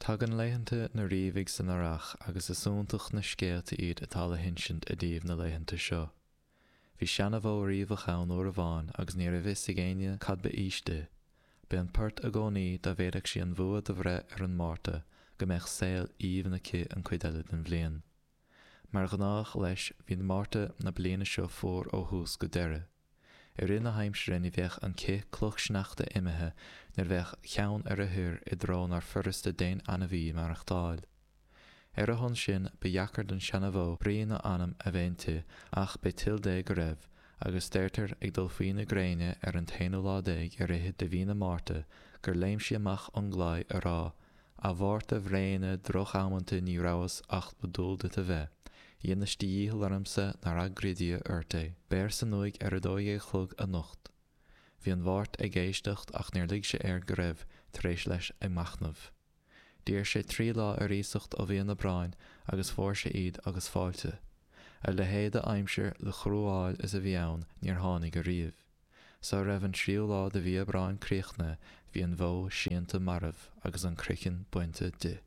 Tagann laethanta na Riabhaigh san earrach agus is iontach na scéalta iad atá le hinsint i dtaobh na laethanta seo. Bhí seanabhó riabhach ann uair amháin agus ní raibh fhios ag éinne cad ba aois di. B'é an port i gcónaí dá bhféadfadh sí an bhua do bhreith ar an Márta go mbeadh saol aoibhinn aici an cuid eile den bhliain. Mar ghnách leis bhí Márta na bliana seo fuar ó thús go deireadh. I rith na haimsire ní bheadh an cith cloch sneachta imithe nuair a bheadh ceann ar a thoir i dtreo nár furasta d'aon ainmhí maireachtáil. Ar a shon sin ba dheacair don seanabhó brí ná anam a bheith inti ach b'é toil Dé go raibh, agus deirtear ag dul faoi na gréine ar an t-aonú lá déag ar fhichid de mhí na Márta gur léim sí amach ón gclaí a rá A Mhárta bhréine drochamanta ní rabhas acht ba dual duit a bheith. Dheinis do dhícheall ormsa nár agraigh Dia ort é. Beir san uaigh ar a 12 a chlog anocht. Bhí an Mháirt ag éisteacht ach níor lig sé air go raibh tar éis leis ag machnamh. D'iarr sé trí lá ar iasacht ó mhí an Aibreáin agus fuair sé iad agus fáilte. A leithéid de aimsir le cruadháil is a bhí ann níor tháinig ariamh. Sara raibh an tríú lá de mhí Aibreáin críochnaithe bhí an bhó séanta marbh agus an croiceann bainte di.